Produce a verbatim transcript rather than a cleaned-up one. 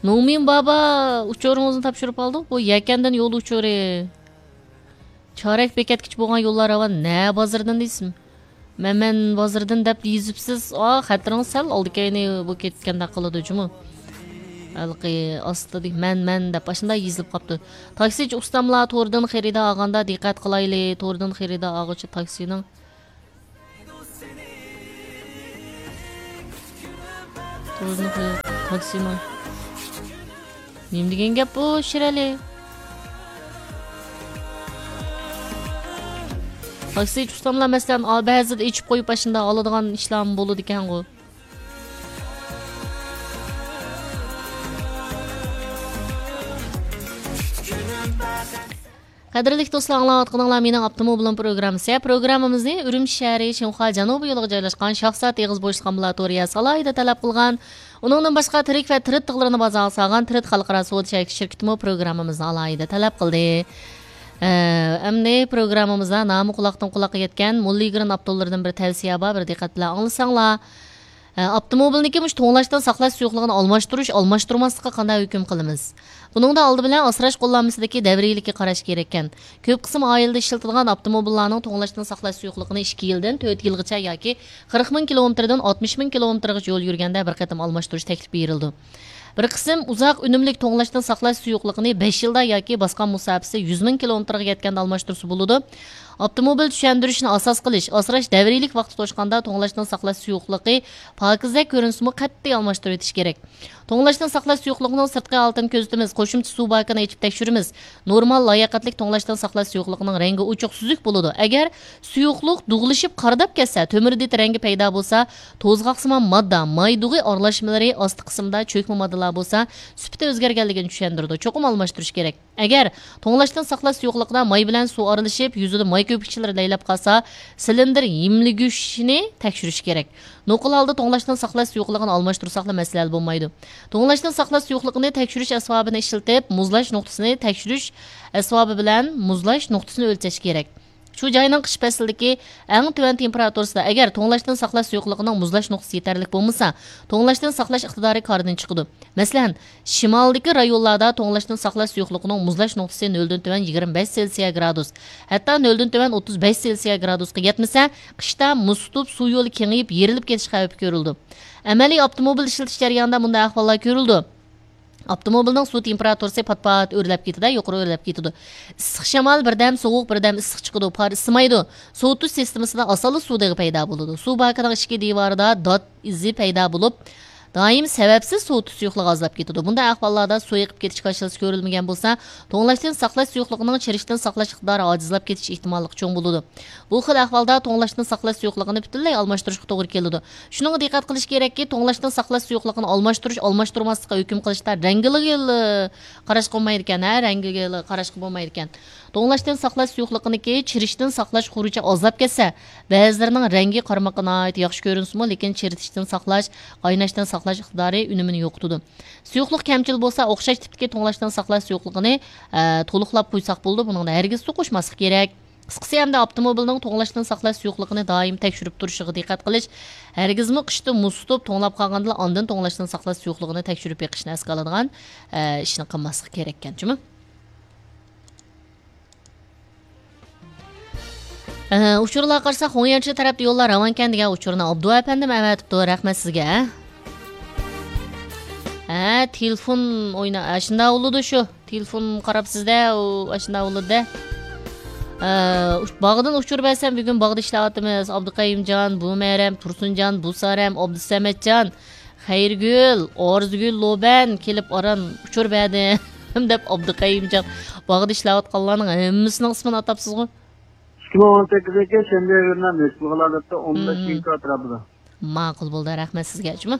نومىن بابا، ئۇچۇرىڭىزنى تاپشۇرۇپ ئالدۇق. بۇ يەكەندىن يول ئۇچۇرى. چارەك بېكەتكىچە بولغان يوللار راۋان نە بازىرىدىن دېسىم. مەمەن بازىرىدىن دەپ يېزىپسىز. ئا، خەتىرىڭىز سەل ئالدى كەينى بولۇپ كەتكەندەك قىلىدۇ جۇمۇ. ھېلىقى ئاستىدىكى مەن، مەن دەپ ئاشۇنداق يېزىلىپ قاپتۇ. تاكسىچى ئۇستاملار توردىن خېرىدار ئالغاندا دىققەت قىلايلى. توردىن خېرىدار ئالغۇچى تاكسىنىڭ توردىن خېرىدار تاكسىنىڭ. نېمە دېگەن گەپ بۇ، شىرئەلى؟ تاكسىچى ئۇستاملار، مەسىلەن، ئا، بەزىدە ئېچىپ قويۇپ، ئاشۇنداق ئالىدىغان ئىشلارمۇ بولىدىكەنغۇ. قەدىرلىك دوستلار، ئاڭلاۋاتقىنىڭلار مېنىڭ ئاپتوموبىلىم پروگراممىسى. پروگراممىمىزنى ئۈرۈمچى شەھىرى شىنخۇا جەنۇبىي يولىغا جايلاشقان شاخسات ئېغىز بوشلۇق ئامبۇلاتورىيەسى ئالاھىدە تەلەپ قىلغان. ئۇنىڭدىن باشقا تىرىك ۋە تىرىت تىغلىرىنى بازارغا سالغان تىرىت خەلقئارا سودا شەركىتىمۇ پروگراممىمىزنى ئالاھىدە تەلەپ قىلدى. ئە، ئەمدى پروگراممىمىزدا نامى قۇلاقتىن قۇلاققا يەتكەن موللىگرېن ئاپتولىرىدىن بىر تەۋسىيە بار، بىر دىققەت بىلەن ئاڭلىساڭلار. ئە، ئاپتوموبىلنىڭكى مۇشۇ توڭلاشتىن ساقلاش سۇيۇقلۇقىنى ئالماشتۇرۇش، ئالماشتۇرماسلىققا قانداق ھۆكۈم قىلىمىز؟ بۇنىڭدا ئالدى بىلەن ئاسراش قوللانمىسىدىكى دەۋرىيلىككە قاراش كېرەككەن. كۆپ قىسىم ئائىلىدە ئىشلىتىدىغان ئاپتوموبىللارنىڭ توڭلاشتىن ساقلاش سۇيۇقلۇقىنى ئىككى يىلدىن تۆت يىلغىچە ياكى قىرىق مىڭ كىلومېتىردىن ئاتمىش مىڭ كىلومېتىرغىچە يول يۈرگەندە بىر قېتىم ئالماشتۇرۇش تەكلىپى بېرىلىدۇ. بىر قىسىم ئۇزاق ئۈنۈملۈك توڭلاشتىن ساقلاش سۇيۇقلۇقىنى بەش يىلدا ياكى باسقان مۇساپىسى يۈز مىڭ كىلومېتىرغا يەتكەندە ئالماشتۇرسا بولىدۇ. ئاپتوموبىل چۈشەندۈرۈشنى ئاساس قىلىش، ئاسراش دەۋرىيلىك ۋاقتى توشقاندا توڭلاشتىن ساقلاش سۇيۇقلۇقى پاكىزدەك كۆرۈنسىمۇ قەتئىي ئالماشتۇرۇۋېتىش كېرەك. توڭلاشتىن ساقلاش سۇيۇقلۇقىنىڭ سىرتقى ھالىتىنى كۆزىتىمىز، قوشۇمچە سۇ باكىنى ئېچىپ تەكشۈرىمىز. نورمال، لاياقەتلىك توڭلاشتىن ساقلاش سۇيۇقلۇقىنىڭ رەڭگى ئوچۇق سۈزۈك بولىدۇ. ئەگەر سۇيۇقلۇق دۇغلىشىپ قارىداپ كەتسە، تۆمۈردىتى رەڭگى پەيدا بولسا، توزغاقسىمان ماددا، ماي دۇغى ئارىلاشمىلىرى ئاستى قىسمىدا چۆكمە ماددىلار بولسا، سۈپىتى ئۆزگەرگەنلىكىنى چۈشەندۈرىدۇ. چوقۇم ئالماشتۇرۇش كېرەك. ئەگەر توڭلاشتىن ساقلاش سۇيۇقلۇقىدا ماي بىلەن سۇ ئارىلىشىپ، يۈزىدە ماي كۆپۈكچىلىرى لەيلەپ قالسا، سىلىندىر يېملىگۈچىنى تەكشۈرۈش كېرەك. نوقۇل ھالدا توڭلاشتىن ساقلاش سۇيۇقلۇقىنى ئالماشتۇرساقلا مەسىلە ھەل بولمايدۇ. توڭلاشتىن ساقلاش سۇيۇقلۇقىنى تەكشۈرۈش ئەسۋابىنى ئىشلىتىپ، مۇزلاش نۇقتىسىنى تەكشۈرۈش ئەسۋابى بىلەن مۇزلاش نۇقتىسىنى ئۆلچەش كېرەك. شۇ جاينىڭ قىش پەسلىدىكى ئەڭ تۆۋەن تېمپېراتۇرىسىدا، ئەگەر توڭلاشتىن ساقلاش سۇيۇقلۇقىنىڭ مۇزلاش نۇقتىسى يېتەرلىك بولمىسا، توڭلاشتىن ساقلاش ئىقتىدارى كاردىن چىقىدۇ. مەسىلەن، شىمالدىكى رايونلاردا توڭلاشتىن ساقلاش سۇيۇقلۇقىنىڭ مۇزلاش نۇقتىسى نۆلدىن تۆۋەن يىگىرمە بەش سېلسىيە گرادۇس، ھەتتا نۆلدىن تۆۋەن ئوتتۇز بەش سېلسىيە گرادۇسقا يەتمىسە، قىشتا مۇز تۇتۇپ، سۇ يولى كېڭىيىپ، يېرىلىپ كېتىش خەۋپى كۆرۈلىدۇ. ئەمەلىي ئاپتوموبىل ئىشلىتىش جەريانىدا مۇنداق ئەھۋاللار كۆرۈلىدۇ. ئاپتوموبىلنىڭ سۇ تېمپېراتۇرىسى پات-پات ئۆرلەپ كېتىدۇ، يۇقىرى ئۆرلەپ كېتىدۇ. ئىسسىق شامال بىردەم سوغۇق، بىردەم ئىسسىق چىقىدۇ، پار ئىسسىمايدۇ. سوۋۇتۇش سىستېمىسىدا ئاسانلا سۇ دېغى پەيدا بولىدۇ. سۇ باكىنىڭ ئىچكى دىۋارىدا دات ئىزى پەيدا بولۇپ، دائىم سەۋەبسىز سوۋۇتۇش سۇيۇقلۇقى ئازلاپ كېتىدۇ. بۇنداق ئەھۋاللاردا سۇ ئېقىپ كېتىش كاشىلىسى كۆرۈلمىگەن بولسا، توڭلاشتىن ساقلاش سۇيۇقلۇقىنىڭ چىرىشتىن ساقلاش ئىقتىدارى ئاجىزلاپ كېتىش ئېھتىماللىقى چوڭ بولىدۇ. بۇ خىل ئەھۋالدا توڭلاشتىن ساقلاش سۇيۇقلۇقىنى پۈتۈنلەي ئالماشتۇرۇشقا توغرا كېلىدۇ. شۇنىڭغا دىققەت قىلىش كېرەككى، توڭلاشتىن ساقلاش سۇيۇقلۇقىنى ئالماشتۇرۇش، ئالماشتۇرماسلىققا ھۆكۈم قىلىشتا رەڭگىلا قاراشقا بولمايدىكەن، ھە، رەڭگىلا قاراشقا بولمايدىكەن. توڭلاشتىن ساقلاش سۇيۇقلۇقىنىڭكى چىرىشتىن ساقلاش خۇرۇچى ئازلاپ كەتسە، بەزىلىرىنىڭ رەڭگى قارىماققا ناھايىتى ياخشى كۆرۈنسىمۇ، لېكىن چىرىتىشتىن ساقلاش، قايناشتىن ساقلاش ئىقتىدارى ئۈنۈمىنى يوقىتىدۇ. سۇيۇقلۇق كەمچىل بولسا، ئوخشاش تىپتىكى توڭلاشتىن ساقلاش سۇيۇقلۇقىنى، ئە، تولۇقلاپ قويساق بولىدۇ، بۇنىڭدا ھەرگىز سۇ قوشماسلىق كېرەك. قىسقىسى، ئەمدى ئاپتوموبىلنىڭ توڭلاشتىن ساقلاش سۇيۇقلۇقىنى دائىم تەكشۈرۈپ تۇرۇشىغا دىققەت قىلىش، ھەرگىزمۇ قىشتا مۇز تۇتۇپ، توڭلاپ قالغاندىلا ئاندىن توڭلاشتىن ساقلاش سۇيۇقلۇقىنى تەكشۈرۈپ بېقىشنى ئەسكە ئالىدىغان، ئە، ئىشنى قىلماسلىق كېرەككەن جۇمۇ. ئە، ئۇچۇرلارغا قارىساق، خۇڭيەنچى تەرەپتە يوللار راۋانكەن دېگەن ئۇچۇرنى ئابدۇ ئەپەندىم ئەۋەتىپتۇ. رەھمەت سىزگە. ھە، تېلېفون ئوينا-، ئاشۇنداق بولىدۇ شۇ. تېلېفون قاراپسىز-دە، ئۇ ئاشۇنداق بولىدۇ-دە. ئە، ئۇچ-، باغدىن ئۇچۇر بەرسەم، بۈگۈن باغدا ئىشلەۋاتىمىز. ئابدۇقەيىمجان، بۇمەرەم، تۇرسۇنجان، بۇسارەم، ئابدۇسەمەتجان، خەيرىگۈل، ئارزۇگۈل، لوبەن كېلىپ ئاران ئۇچۇر بەردىم دەپ ئابدۇقەيىمجان باغدا ئىشلەۋاتقانلارنىڭ ھەممىسىنىڭ ئىسمىنى ئاتاپسىزغۇ؟ ئىككى مىڭ ئون سەككىزىنچى يىل شەنبە كۈنى نېسىپ قىلغانلار دەپتۇ، ئون بەش مم. ئىنكا ئەتراپىدا. ماقۇل بولدى، رەھمەت سىزگە جۇمۇ.